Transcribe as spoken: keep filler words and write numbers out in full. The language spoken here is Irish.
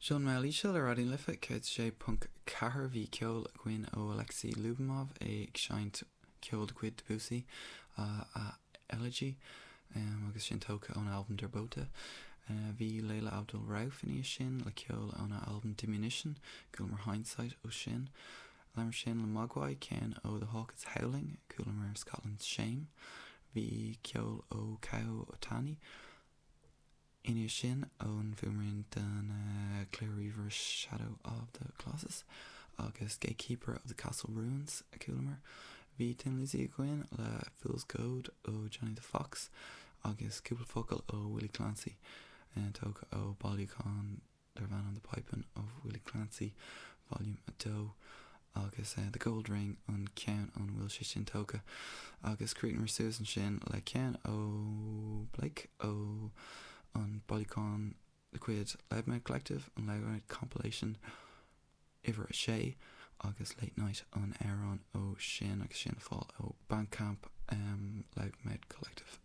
Seo an Mheall Íseal ar Raidió na Life céad sé ponc ceathair bhí ceol againn ó Alexei Lubimov é ag seinnt ceol de chuid Debussy a Elegy agus sin tógtha ón albam Der Bote. Bhí Leila Abdul-Rauf ina dhiaidh sin le ceol óna albam Diminution, chualamar Hindsight ó sin. Leanamar sin le Mogwai, ceann ó The Hawk is Howling, chualamar Scotland's Shame. Bhí ceol ó Kow Otani ina dhiaidh sin ón bhfuaimrian den chluiche ríomhaire Shadow of the Colossus agus Gatekeeper of the Castle Ruins a chualamar. Bhí Thin Lizzy againn le Fool's Gold ó Johnny the Fox agus cúpla focal ó Willie Clancy tógtha ó bailiúchán darb ainm The Piping of Willie Clancy Volume a dó agus uh, The Gold Ring an ceann ón bhfuil sé sin tógtha agus chríochnómar suas ansin le ceann ó Blake ó an bailiúchán de chuid Loudmouth Collective an Loudmouth Compilation uimhir a sé agus Late Night an amhrán ó sin agus sin fáil ó Bandcamp um, Loudmouth Collective.